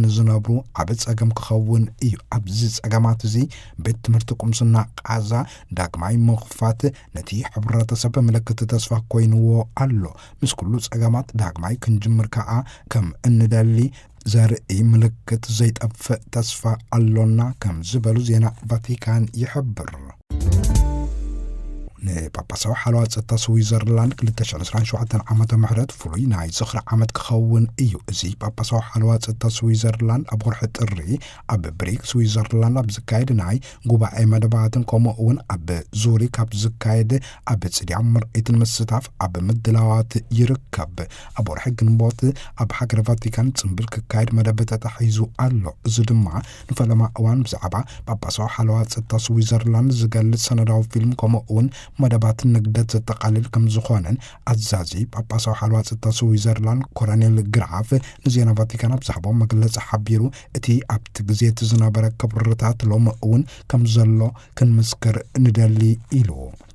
ንዝነብሩ ዓቢ ጸገም ክኸውን እዩ። ኣብዚ ጸገማት እዚ ቤት ትምህርቲ ቁምስና ቃዛ ዳግማይ ምኽፋት ነቲ ሕብረተሰብ ምልክት ተስፋ ኮይንዎ ኣሎ። ምስ ኩሉ ጸገማት ዳግማይ ክንጅምር ከኣ ከም እንደሊ ዘርኢ ምልክት ዘይጠፍእ ተስፋ ኣሎና ከም ዝበሉ ዜና ቫቲካን ይሕብር። ንጳጳሳዊ ሓለዋ ጸጥታ ስዊዘርላንድ ክልተ ሽሕን ዕስራን ሸውዓተን ዓመተ ምህረት ፍሉይ ናይ ዝኽሪ ዓመት ክኸውን እዩ። እዚ ጳጳሳዊ ሓለዋ ጸጥታ ስዊዘርላንድ ኣብ ወርሒ ጥሪ ኣብ ብሪግ ስዊዘርላንድ ኣብ ዝካየድ ናይ ጉባኤ መደባትን ከምኡ እውን ኣብ ዙሪክ ኣብ ዝካየድ ኣብ ጽድያ ምርኢትን ምስታፍ ኣብ ምድላዋት ይርከብ። ኣብ ወርሒ ግንቦት ኣብ ሃገረ ቫቲካን ጽምብል ክካየድ መደብ ተታሒዙ ኣሎ። እዚ ድማ ንፈለማ እዋን ብዛዕባ ጳጳሳዊ ሓለዋ ጸጥታ ስዊዘርላንድ ዝገልጽ ሰነዳዊ ፊልም ከምኡ እውን መደባት ንግደት ዘጠቓልል ከም ዝኾነን ኣዛዚ ጳጳሳዊ ሓለዋ ጸጥታ ስዊዘርላንድ ኮሎኔል ግራፍ ንዜና ቫቲካን ኣብ ዝሃቦ መግለጺ ሓቢሩ፣ እቲ ኣብቲ ግዜ እቲ ዝነበረ ክብርታት ሎሚ እውን ከም ዘሎ ክንምስክር ንደሊ ኢሉ።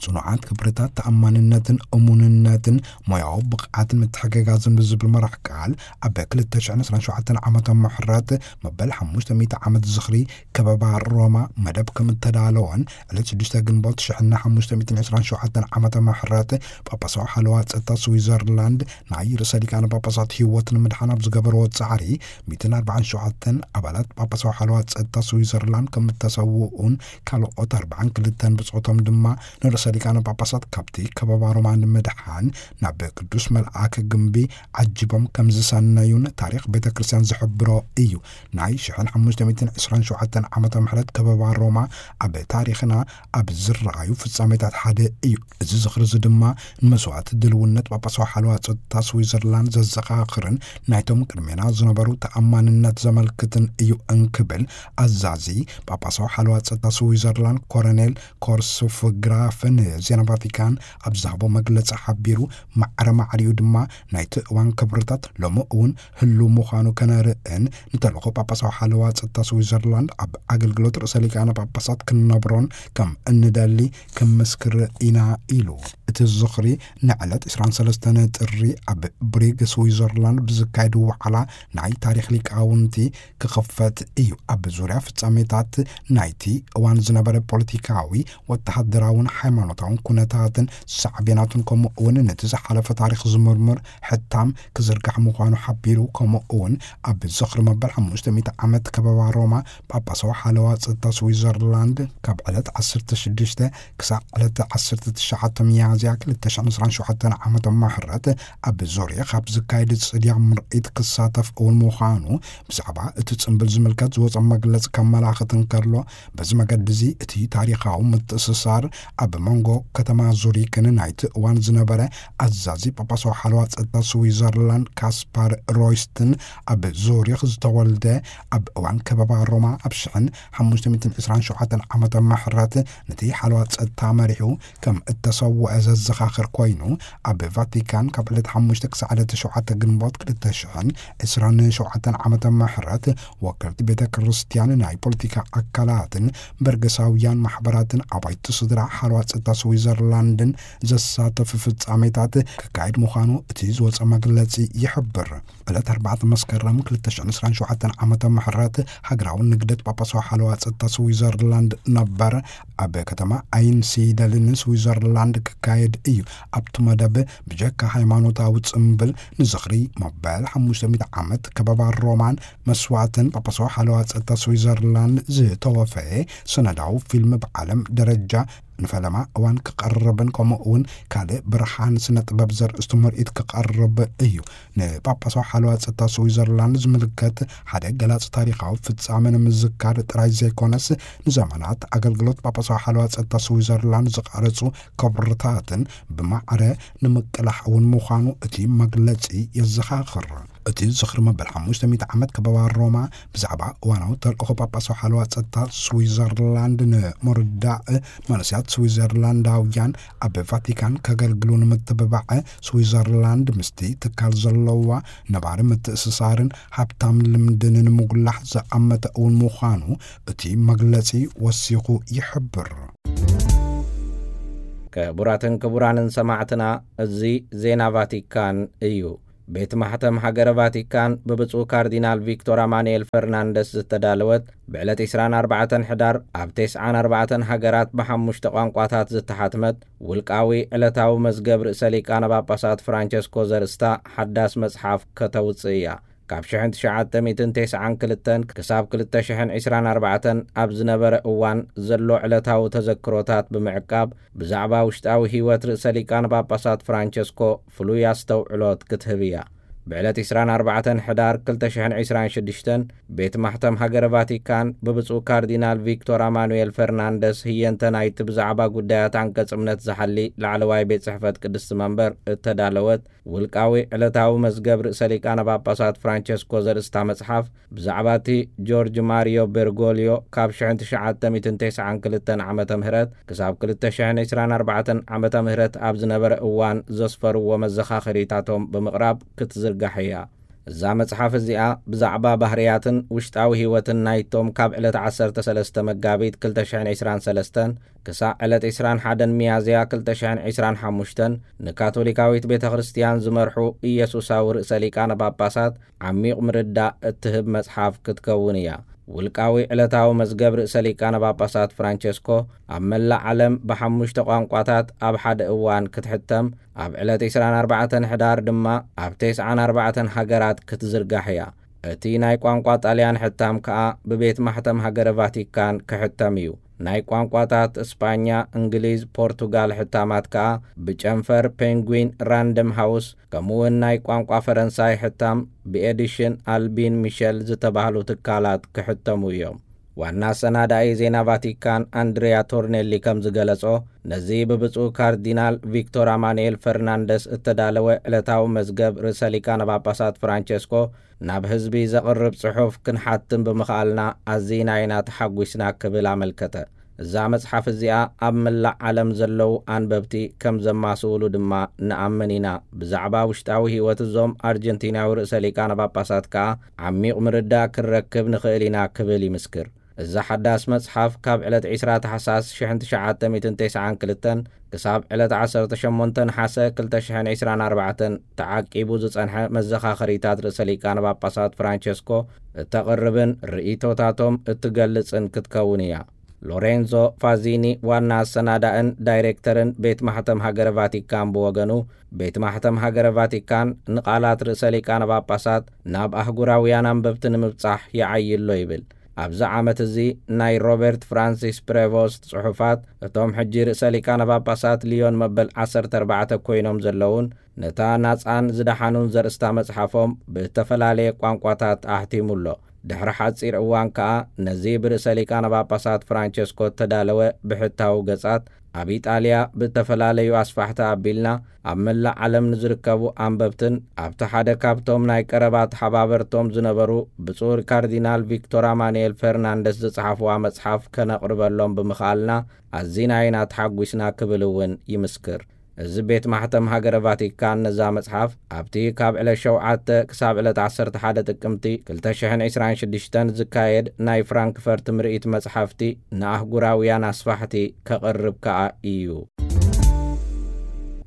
ጽኑዓት ክብርታት ተኣማንነትን እሙንነትን ሞያዊ ብቕዓትን ምትሕግጋዝን ብዝብል መራሕ ቃል ኣብ ክልተ ሽሕን ዕስራን ሸውዓተን ዓመተ ምሕረት መበል ሓሙሽተ ሚእቲ ዓመት ዝኽሪ ከበባ ሮማ መደብ ከም እተዳለወን ዕለት ሽዱሽተ ግንቦት ሽሕን ሓሙሽተ ሚእትን ዕስራን ሸውዓተን ዓመተ ምሕረት ጳጳሳዊ ሓለዋ ጸጥታ ስዊዘርላንድ ናይ ርእሰ ሊቃነ ጳጳሳት ህይወት ንምድሓን ኣብ ዝገበርዎ ጻዕሪ ሚእትን ኣርባዓን ሸውዓተን ኣባላት ጳጳሳዊ ሓለዋ ጸጥታ ስዊዘርላንድ ከም እተሰውኡን ካልኦት ኣርባዓን ክልተን ብጾቶም ድማ ንርእሰ ሊቃነ ጳጳሳት ካብቲ ከበባ ሮማ ንምድሓን ናብ ቅዱስ መልኣክ ግምቢ ዓጂቦም ከም ዝሰነዩን ታሪኽ ቤተ ክርስቲያን ዝሕብሮ እዩ። ናይ ሽሕን ሓሙሽተ ሚእትን ዕስራን ሸውዓተን ዓመተ ምሕረት ከበባ ሮማ ኣብ ታሪኽና ኣብ ዝረኣዩ ፍጻሜታት ሓደ እዩ። እዚ ዝኽሪ እዚ ድማ ንመስዋእቲ ድልውነት ጳጳሳዊ ሓለዋ ጸጥታ ስዊዘርላንድ ዘዘኻኽርን ናይቶም ቅድሜና ዝነበሩ ተኣማንነት ዘመልክትን እዩ እንክብል ኣዛዚ ጳጳሳዊ ሓለዋ ጸጥታ ስዊዘርላንድ ኮሎኔል ኮርሱፍ ግራፍ ንዜና ቫቲካን ኣብ ዝሃቦ መግለጺ ሓቢሩ፣ ማዕረ ማዕሪኡ ድማ ናይቲ እዋን ክብርታት ሎሚ እውን ህሉው ምዃኑ ከነርእን ንተልእኾ ጳጳሳዊ ሓለዋ ጸጥታ ስዊዘርላንድ ኣብ ኣገልግሎት ርእሰ ሊቃነ ጳጳሳት ክንነብሮን ከም እንደሊ ክምስክር ኢና ኢሉ። እቲ ዝኽሪ ንዕለት ዕስራን ሰለስተን ጥሪ ኣብ ብሪግ ስዊዘርላንድ ብዝካየድ ዋዕላ ናይ ታሪኽ ሊቃውንቲ ክኽፈት እዩ። ኣብ ዙርያ ፍጻሜታት ናይቲ እዋን ዝነበረ ፖለቲካዊ፣ ወተሃደራውን ሃይማኖታውን ኩነታትን ሳዕቤናቱን ከምኡ እውን ነቲ ዝሓለፈ ታሪኽ ዝምርምር ሕታም ክዝርጋሕ ምዃኑ ሓቢሩ። ከምኡ እውን ኣብ ዝኽሪ መበል ሓሙሽተ ሚእቲ ዓመት ከበባ ሮማ ጳጳሳዊ ሓለዋ ጸጥታ ስዊዘርላንድ ካብ ዕለት ዓሰርተ ሽዱሽተ ክሳብ ዕለት ዓሰርተ ትሽዓተ ሚያዝያ ክልተ ሽሕን ዕስራን ሸውዓተን ዓመተ ምሕረት ኣብ ዙሪክ ኣብ ዝካየድ ጽድያ ምርኢት ክሳተፍ እውን ምዃኑ ብዛዕባ እቲ ጽምብል ዝምልከት ዝወጸ መግለጺ ከመላኽት እንከሎ፣ በዚ መገዲ እዚ እቲ ታሪኻዊ ምትእስሳር ኣብ መንጎ ከተማ ዙሪክን ናይቲ እዋን ዝነበረ ኣዛዚ ጳጳሳዊ ሓለዋ ጸጥታ ስዊዘርላንድ ካስፓር ሮይስትን ኣብ ዙሪክ ዝተወልደ ኣብ እዋን ከበባ ሮማ ኣብ ሽሕን ሓሙሽተ ሚእትን ዕስራን ሸውዓተን ዓመተ ምሕረት ነቲ ሓለዋ ጸጥታ መሪሑ ከም እተሰውአ ዘዘኻኽር ኮይኑ፣ ኣብ ቫቲካን ካብ ዕለት ሓሙሽተ ክሳዕ ዕለት ሸውዓተ ግንቦት ክልተ ሽሕን ዕስራን ሸውዓተን ዓመተ ምሕረት ወከልቲ ቤተ ክርስቲያን፣ ናይ ፖለቲካ ኣካላትን በርገሳውያን ማሕበራትን ኣባይቲ ስድራ ሓለዋ ጸጥታ ስዊዘርላንድን ዘሳተፉ ፍጻሜታት ክካየድ ምዃኑ እቲ ዝወጸ መግለጺ ይሕብር። ዕለት ኣርባዕተ መስከረም ክልተ ሽሕን ዕስራን ሸውዓተን ዓመተ ምሕረት ሃገራዊ ንግደት ጳጳሳዊ ሓለዋ ጸጥታ ስዊዘርላንድ ነበር ኣብ ከተማ ኣይንሲደልን ስዊዘርላንድ ክካየድ እዩ። ኣብቲ መደብ ብጀካ ሃይማኖታዊ ጽምብል ንዝኽሪ መበል ሓሙሽተ ሚእቲ ዓመት ከበባ ሮማን መስዋእትን ጳጳሳዊ ሓለዋ ጸጥታ ስዊዘርላንድ ዝተወፈየ ሰነዳዊ ፊልም ብዓለም ደረጃ ንፈለማ እዋን ክቐርብን ከምኡ እውን ካልእ ብርሃን ስነ ጥበብ ዘርእስቱ ምርኢት ክቐርብ እዩ። ንጳጳሳዊ ሓለዋ ጸጥታ ስዊዘርላንድ ዝምልከት ሓደ ገላጽ ታሪኻዊ ፍጻመ ንምዝካር ጥራይ ዘይኮነስ፣ ንዘመናት ኣገልግሎት ጳጳሳዊ ሓለዋ ጸጥታ ስዊዘርላንድ ዝቐረጹ ክብርታትን ብማዕረ ንምቅላሕ እውን ምዃኑ እቲ መግለጺ የዘኻኽር። እቲ ዝኽሪ መበል ሓሙሽተ ሚእቲ ዓመት ከበባ ሮማ ብዛዕባ እዋናዊ ተልእኾ ጳጳሳዊ ሓለዋ ጸጥታ ስዊዘርላንድ ንምርዳእ መንእሰያት ስዊዘርላንዳውያን ኣብ ቫቲካን ከገልግሉ ንምትብባዕ ስዊዘርላንድ ምስቲ ትካል ዘለዋ ነባሪ ምትእስሳርን ሃብታም ልምድን ንምጉላሕ ዝኣመተ እውን ምዃኑ እቲ መግለጺ ወሲኹ ይሕብር። ክቡራትን ክቡራንን ሰማዕትና፣ እዚ ዜና ቫቲካን እዩ። ቤት ማሕተም ሃገረ ቫቲካን ብብፁዕ ካርዲናል ቪክቶር ኣማኑኤል ፈርናንደስ ዝተዳለወት፣ ብዕለት ዕስራን ኣርባዕተን ሕዳር ኣብ ተስዓን ኣርባዕተን ሃገራት ብሓሙሽተ ቋንቋታት ዝተሓትመት፣ ውልቃዊ ዕለታዊ መዝገብ ርእሰ ሊቃነ ጳጳሳት ፍራንቸስኮ ዘርእስታ ሓዳስ መጽሓፍ ከተውጽእ እያ። ካብ ሽሕን ትሽዓተ ሚእትን ተስዓን ክልተን ክሳብ ክልተ ሽሕን ዕስራን ኣርባዕተን ኣብ ዝነበረ እዋን ዘሎ ዕለታዊ ተዘክሮታት ብምዕቃብ፣ ብዛዕባ ውሽጣዊ ህይወት ርእሰ ሊቃነ ጳጳሳት ፍራንቸስኮ ፍሉይ ኣስተውዕሎት ክትህብ እያ። ብዕለት ዕስራን ኣርባዕተን ሕዳር ክልተ ሽሕን ዕስራን ሽዱሽተን፣ ቤት ማሕተም ሃገረ ቫቲካን ብብፁዕ ካርዲናል ቪክቶር ኣማኑኤል ፈርናንደስ ህየንተ ናይቲ ብዛዕባ ጉዳያት ኣንቀጽ እምነት ዝሓሊ ላዕለዋይ ቤት ጽሕፈት ቅድስቲ መንበር እተዳለወት፣ ውልቃዊ ዕለታዊ መዝገብ ርእሰ ሊቃነ ጳጳሳት ፍራንቸስኮ ዘርእስታ መጽሓፍ፣ ብዛዕባ እቲ ጆርጅ ማሪዮ ቤርጎልዮ ካብ ሽሕን ትሽዓተ ሚእትን ተስዓን ክልተን ዓመተ ምህረት ክሳብ ክልተ ሽሕን ዕስራን ኣርባዕተን ዓመተ ምህረት ኣብ ዝነበረ እዋን ዘስፈርዎ መዘኻኸሪታቶም ብምቕራብ ክትዝርጋሕ እያ። እዛ መጽሓፍ እዚኣ ብዛዕባ ባህርያትን ውሽጣዊ ህይወትን ናይቶም ካብ ዕለት ዓሰርተ ሰለስተ መጋቢት ክልተ ሽሕን ዕስራን ሰለስተን ክሳዕ ዕለት ዕስራን ሓደን ሚያዝያ ክልተ ሽሕን ዕስራን ሓሙሽተን ንካቶሊካዊት ቤተ ክርስቲያን ዝመርሑ ኢየሱሳዊ ርእሰ ሊቃነ ጳጳሳት ዓሚቕ ምርዳእ እትህብ መጽሓፍ ክትከውን እያ። ውልቃዊ ዕለታዊ መዝገብ ርእሰ ሊቃነ ጳጳሳት ፍራንቸስኮ ኣብ መላእ ዓለም ብሓሙሽተ ቋንቋታት ኣብ ሓደ እዋን ክትሕተም፣ ኣብ ዕለት ዕስራን ኣርባዕተን ሕዳር ድማ ኣብ ተስዓን ኣርባዕተን ሃገራት ክትዝርጋሕ እያ። እቲ ናይ ቋንቋ ጣልያን ሕታም ከኣ ብቤት ማሕተም ሃገረ ቫቲካን ክሕተም እዩ። ናይ ቋንቋታት እስጳኛ፣ እንግሊዝ፣ ፖርቱጋል ሕታማት ከኣ ብጨንፈር ፔንጉዊን ራንደም ሃውስ፣ ከምኡውን ናይ ቋንቋ ፈረንሳይ ሕታም ብኤዲሽን ኣልቢን ሚሸል ዝተባህሉ ትካላት ክሕተሙ እዮም። ዋና ኣሰናዳኢ ዜና ቫቲካን ኣንድሪያ ቶርኔሊ ከም ዝገለጾ፣ ነዚ ብብፁዕ ካርዲናል ቪክቶር ኣማኑኤል ፈርናንደስ እተዳለወ ዕለታዊ መዝገብ ርእሰ ሊቃነ ጳጳሳት ፍራንቸስኮ ናብ ህዝቢ ዘቕርብ ጽሑፍ ክንሓትም ብምኽኣልና ኣዚና ኢና ተሓጒስና ክብል ኣመልከተ። እዛ መጽሓፍ እዚኣ ኣብ መላእ ዓለም ዘለዉ ኣንበብቲ ከም ዘማስውሉ ድማ ንኣምን ኢና። ብዛዕባ ውሽጣዊ ህይወት እዞም ኣርጀንቲናዊ ርእሰ ሊቃነ ጳጳሳት ከኣ ዓሚቕ ምርዳእ ክንረክብ ንኽእል ኢና ክብል ይምስክር። እዛ ሓዳስ መጽሓፍ ካብ ዕለት ዕስራ ታሕሳስ ሽሕን ትሽዓተ ሚእትን ተስዓን ክልተን ክሳብ ዕለት ዓሰርተ ሸሞንተ ነሓሰ ክልተ ሽሕን ዕስራን ኣርባዕተን ተዓቂቡ ዝጸንሐ መዘኻኸሪታት ርእሰ ሊቃነ ጳጳሳት ፍራንቸስኮ እተቕርብን ርእይቶታቶም እትገልጽን ክትከውን እያ። ሎሬንዞ ፋዚኒ ዋና ኣሰናዳእን ዳይሬክተርን ቤት ማሕተም ሃገረ ቫቲካን ብወገኑ፣ ቤት ማሕተም ሃገረ ቫቲካን ንቓላት ርእሰ ሊቃነ ጳጳሳት ናብ ኣህጉራውያን ኣንበብቲ ንምብጻሕ ይዓይሎ ይብል። ኣብዚ ዓመት እዚ ናይ ሮበርት ፍራንሲስ ፕሬቮስት ጽሑፋት፣ እቶም ሕጂ ርእሰ ሊቃነ ጳጳሳት ሊዮን መበል ዓሰርተ ኣርባዕተ ኮይኖም ዘለዉን ነታ ናጻን ዝደሓኑን ዘርእስታ መጽሓፎም ብእተፈላለየ ቋንቋታት ኣሕቲሙ ኣሎ። ድሕሪ ሓጺር እዋን ከኣ ነዚ ብርእሰ ሊቃነ ጳጳሳት ፍራንቸስኮ እተዳለወ ብሕታዊ ገጻት ኣብ ኢጣልያ ብእተፈላለዩ ኣስፋሕቲ ኣቢልና ኣብ መላእ ዓለም ንዝርከቡ ኣንበብትን ኣብቲ ሓደ ካብቶም ናይ ቀረባ ተሓባበርቶም ዝነበሩ ብፁዕ ካርዲናል ቪክቶር ኣማኑኤል ፈርናንደስ ዝጸሓፍዋ መጽሓፍ ከነቕርበሎም ብምኽኣልና ኣዚና ኢና ተሓጒስና ክብል እውን ይምስክር። እዚ ቤት ማሕተም ሃገረ ቫቲካን ነዛ መጽሓፍ ኣብቲ ካብ ዕለት ሸውዓተ ክሳብ ዕለት ዓሰርተ ሓደ ጥቅምቲ ክልተ ሽሕን ዕስራን ሽዱሽተን ዝካየድ ናይ ፍራንክፈርት ምርኢት መጽሓፍቲ ንኣህጉራውያን ኣስፋሕቲ ከቕርብ ከኣ እዩ።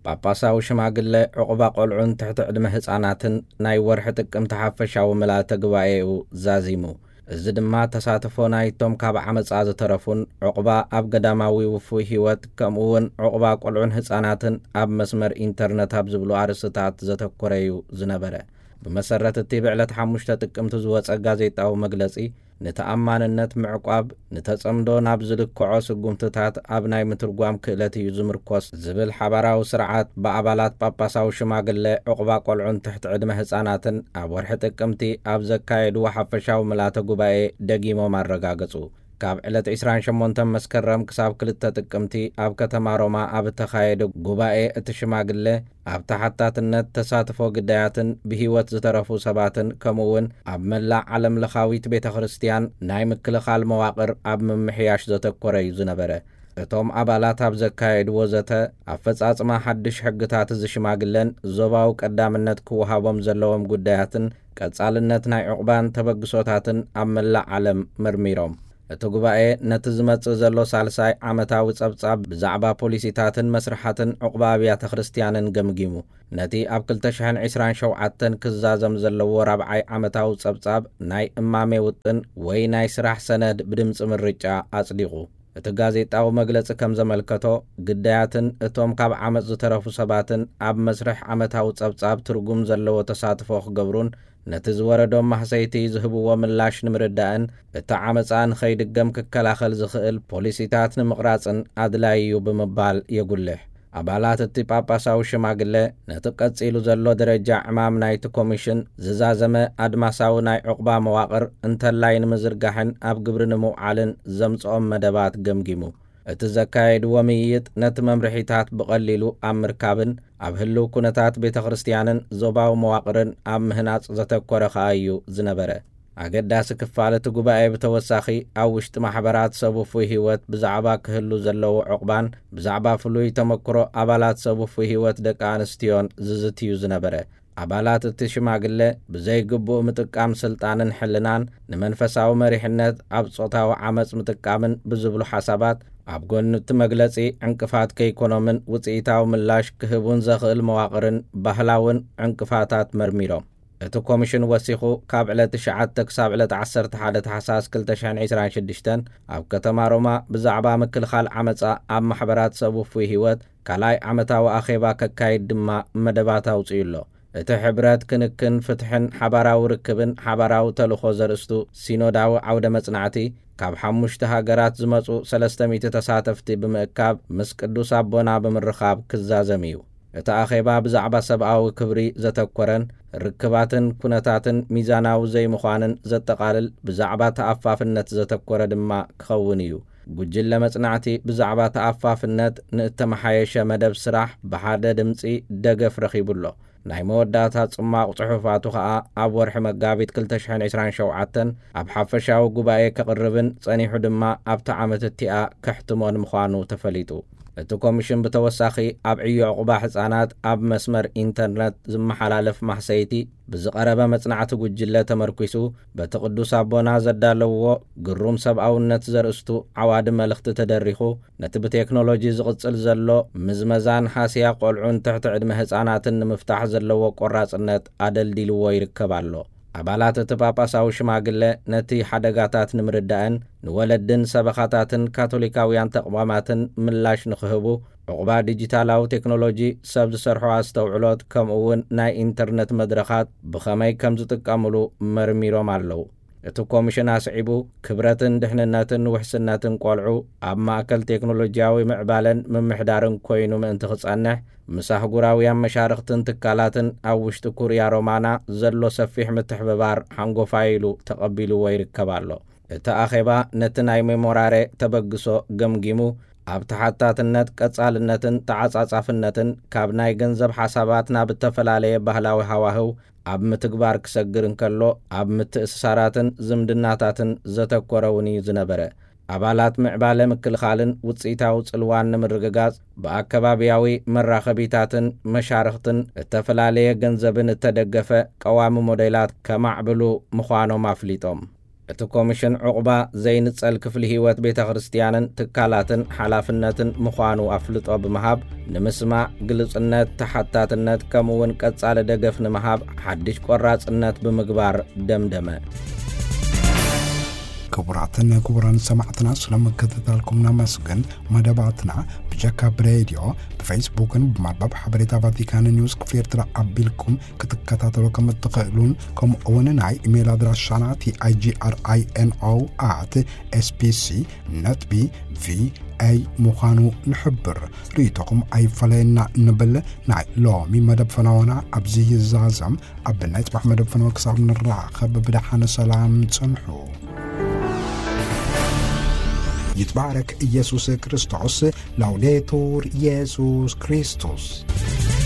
ጳጳሳዊ ሽማግለ ዕቑባ ቆልዑን ትሕቲ ዕድመ ህጻናትን ናይ ወርሒ ጥቅምቲ ሓፈሻዊ ምልኣተ ጉባኤኡ ዛዚሙ። እዚ ድማ ተሳትፎ ናይቶም ካብ ዓመጻ ዝተረፉን ዕቑባ ኣብ ገዳማዊ ውፉይ ህይወት ከምኡ እውን ዕቑባ ቆልዑን ህጻናትን ኣብ መስመር ኢንተርነት ኣብ ዝብሉ ኣርእስትታት ዘተኮረ እዩ ዝነበረ። ብመሰረት እቲ ብዕለት ሓሙሽተ ጥቅምቲ ዝወጸ ጋዜጣዊ መግለጺ፣ ንተኣማንነት ምዕቋብ ንተጸምዶ ናብ ዝልክዖ ስጉምትታት ኣብ ናይ ምትርጓም ክእለት እዩ ዝምርኮስ ዝብል ሓባራዊ ስርዓት ብኣባላት ጳጳሳዊ ሽማግለ ዕቑባ ቆልዑን ትሕቲ ዕድመ ህጻናትን ኣብ ወርሒ ጥቅምቲ ኣብ ዘካየድዎ ሓፈሻዊ ምልኣተ ጉባኤ ደጊሞም ኣረጋገጹ። ካብ ዕለት ዕስራን ሸሞንተን መስከረም ክሳብ ክልተ ጥቅምቲ ኣብ ከተማ ሮማ ኣብ እተኻየደ ጉባኤ እቲ ሽማግለ ኣብ ተሓታትነት ተሳትፎ ግዳያትን ብህይወት ዝተረፉ ሰባትን ከምኡ እውን ኣብ መላእ ዓለም ለኻዊት ቤተ ክርስቲያን ናይ ምክልኻል መዋቕር ኣብ ምምሕያሽ ዘተኮረ እዩ ዝነበረ። እቶም ኣባላት ኣብ ዘካየድዎ ዘተ ኣፈጻጽማ ሓድሽ ሕግታት እዚ ሽማግለን ዞባዊ ቀዳምነት ክወሃቦም ዘለዎም ጉዳያትን ቀጻልነት ናይ ዕቑባን ተበግሶታትን ኣብ መላእ ዓለም መርሚሮም። እቲ ጉባኤ ነቲ ዝመጽእ ዘሎ ሳልሳይ ዓመታዊ ጸብጻብ ብዛዕባ ፖሊሲታትን መስርሓትን ዕቑባ ኣብያተ ክርስትያንን ገምጊሙ። ነቲ ኣብ ክልተ ሽሕን ዕስራን ሸውዓተን ክዛዘም ዘለዎ ራብዓይ ዓመታዊ ጸብጻብ ናይ እማሜ ውጥን ወይ ናይ ስራሕ ሰነድ ብድምጺ ምርጫ ኣጽዲቑ። እቲ ጋዜጣዊ መግለጺ ከም ዘመልከቶ፣ ግዳያትን እቶም ካብ ዓመጽ ዝተረፉ ሰባትን ኣብ መስርሕ ዓመታዊ ጸብጻብ ትርጉም ዘለዎ ተሳትፎ ክገብሩን ነቲ ዝወረዶም ማህሰይቲ ዝህብዎ ምላሽ ንምርዳእን እቲ ዓመጻ ንኸይድገም ክከላኸል ዝኽእል ፖሊሲታት ንምቕራጽን ኣድላዪ እዩ ብምባል የጉልሕ። ኣባላት እቲ ጳጳሳዊ ሽማግለ ነቲ ቀጺሉ ዘሎ ደረጃ ዕማም ናይቲ ኮሚሽን ዝዛዘመ ኣድማሳዊ ናይ ዕቑባ መዋቕር እንተላይ ንምዝርጋሕን ኣብ ግብሪ ንምውዓልን ዘምጽኦም መደባት ገምጊሙ። እቲ ዘካየድዎ ምይይጥ ነቲ መምርሒታት ብቐሊሉ ኣብ ምርካብን ኣብ ህልው ኩነታት ቤተ ክርስትያንን ዞባዊ መዋቕርን ኣብ ምህናጽ ዘተኮረ ከኣ እዩ ዝነበረ። ኣገዳሲ ክፋል እቲ ጉባኤ ብተወሳኺ ኣብ ውሽጢ ማሕበራት ሰብ ውፉይ ህይወት ብዛዕባ ክህሉ ዘለዎ ዕቑባን ብዛዕባ ፍሉይ ተመክሮ ኣባላት ሰብ ውፉይ ህይወት ደቂ ኣንስትዮን ዝዝትዩ ዝነበረ። ኣባላት እቲ ሽማግለ ብዘይግቡእ ምጥቃም ስልጣንን ሕልናን፣ ንመንፈሳዊ መሪሕነት ኣብ ጾታዊ ዓመጽ ምጥቃምን ብዝብሉ ሓሳባት ኣብ ጎኒ እቲ መግለጺ ዕንቅፋት ከይኮኖምን ውጽኢታዊ ምላሽ ክህቡን ዘኽእል መዋቕርን ባህላውን ዕንቅፋታት መርሚሮም። እቲ ኮሚሽን ወሲኹ፣ ካብ ዕለት ትሽዓተ ክሳብ ዕለት ዓሰርተ ሓደ ታሕሳስ ክልተ ሽሕን ዕስራን ሽዱሽተን ኣብ ከተማ ሮማ ብዛዕባ ምክልኻል ዓመጻ ኣብ ማሕበራት ሰብ ውፉይ ህይወት ካልኣይ ዓመታዊ ኣኼባ ከካይድ ድማ መደባት ኣውጺኡ ኣሎ። እቲ ሕብረት ክንክን ፍትሕን ሓባራዊ ርክብን ሓባራዊ ተልእኾ ዘርእስቱ ሲኖዳዊ ዓውደ መጽናዕቲ ካብ ሓሙሽተ ሃገራት ዝመጹ ሰለስተ ሚእቲ ተሳተፍቲ ብምእካብ ምስ ቅዱስ ኣቦና ብምርኻብ ክዛዘም እዩ። እቲ ኣኼባ ብዛዕባ ሰብኣዊ ክብሪ ዘተኮረን ርክባትን ኩነታትን ሚዛናዊ ዘይምዃንን ዘጠቓልል፣ ብዛዕባ ተኣፋፍነት ዘተኮረ ድማ ክኸውን እዩ። ጉጅለ መጽናዕቲ ብዛዕባ ተኣፋፍነት ንእተመሓየሸ መደብ ስራሕ ብሓደ ድምጺ ደገፍ ረኺቡ ኣሎ። ናይ መወዳእታ ጽማቕ ጽሑፋቱ ኸኣ ኣብ ወርሒ መጋቢት ክልተ ሽሕን ዕስራን ሸውዓተን ኣብ ሓፈሻዊ ጉባኤ ከቕርብን ጸኒሑ ድማ ኣብታ ዓመት እቲኣ ከሕትሞን ምዃኑ ተፈሊጡ። እቲ ኮሚሽን ብተወሳኺ ኣብ ዕዮ ዕቑባ ሕጻናት ኣብ መስመር ኢንተርነት ዝመሓላለፍ ማህሰይቲ ብዝቐረበ መጽናዕቲ ጉጅለ ተመርኲሱ በቲ ቅዱስ ኣቦና ዘዳለውዎ ግሩም ሰብኣውነት ዘርእስቱ ዓዋዲ መልእኽቲ ተደሪኹ ነቲ ብቴክኖሎጂ ዝቕጽል ዘሎ ምዝመዛን ሃስያ ቆልዑን ትሕቲ ዕድመ ህጻናትን ንምፍታሕ ዘለዎ ቆራጽነት ኣደልዲልዎ ይርከብ ኣሎ። ኣባላት እቲ ጳጳሳዊ ሽማግለ ነቲ ሓደጋታት ንምርዳእን ንወለድን ሰበኻታትን ካቶሊካውያን ተቕዋማትን ምላሽ ንኽህቡ ዕቑባ ዲጂታላዊ ቴክኖሎጂ፣ ሰብ ዝሰርሖ ኣስተውዕሎት፣ ከምኡ እውን ናይ ኢንተርነት መድረኻት ብኸመይ ከም ዝጥቀምሉ መርሚሮም ኣለዉ። እቲ ኮሚሽን ኣስዒቡ፣ ክብረትን ድሕንነትን ውሕስነትን ቆልዑ ኣብ ማእከል ቴክኖሎጂያዊ ምዕባለን ምምሕዳርን ኮይኑ ምእንቲ ክጸንሕ፣ ምስ ኣህጉራውያን መሻርኽትን ትካላትን ኣብ ውሽጢ ኩርያ ሮማና ዘሎ ሰፊሕ ምትሕብባር ሓንጎፋይ ኢሉ ተቐቢልዎ ይርከብ ኣሎ። እቲ ኣኼባ ነቲ ናይ ሜሞራሬ ተበግሶ ገምጊሙ፣ ኣብ ተሓታትነት፣ ቀጻልነትን ተዓጻጻፍነትን ካብ ናይ ገንዘብ ሓሳባት ናብ እተፈላለየ ባህላዊ ሃዋህው ኣብ ምትግባር ክሰግር እንከሎ፣ ኣብ ምትእስሳራትን ዝምድናታትን ዘተኮረ እውን እዩ ዝነበረ። ኣባላት ምዕባለ ምክልኻልን ውጽኢታዊ ጽልዋን ንምርግጋጽ፣ ብኣከባብያዊ መራኸቢታትን መሻርኽትን እተፈላለየ ገንዘብን እተደገፈ ቀዋሚ ሞዴላት ከማዕብሉ ምዃኖም ኣፍሊጦም። እቲ ኮሚሽን ዕቑባ ዘይንጸል ክፍሊ ህይወት ቤተ ክርስትያንን ትካላትን ሓላፍነትን ምዃኑ ኣፍልጦ ብምሃብ፣ ንምስማዕ፣ ግሉጽነት፣ ተሓታትነት፣ ከምኡ እውን ቀጻሊ ደገፍ ንምሃብ ሓድሽ ቆራጽነት ብምግባር ደምደመ። ክቡራትን ክቡራን ሰማዕትና፣ ስለምክትታልኩም ነመስግን። መደባትና ብጀካ ብሬድዮ፣ ብፌስቡክን ብመርበብ ሓበሬታ ቫቲካን ኒውስ ክፍሊ ኤርትራ ኣቢልኩም ክትከታተሉ ከም እትኽእሉን፣ ከምኡ እውን ናይ ኢሜይል ኣድራሻና ቲ ኣይ ጂ ኣር ኣይ ኤን ኦ ኣት ኤስ ቢ ሲ ነጥቢ ቪ ኤ ምዃኑ ንሕብር። ርእይቶኹም ኣይፈለየና ንብል። ናይ ሎሚ መደብ ፈነወና ኣብዚ ይዛዘም። ኣብ ናይ ጽባሕ መደብ ፈነወ ክሳብ ንራኸብ ብደሓን ሰላም ጽንሑ። ይትባረክ ኢየሱስ ክርስቶስ። ላውዴቱር ኢየሱስ ክርስቶስ።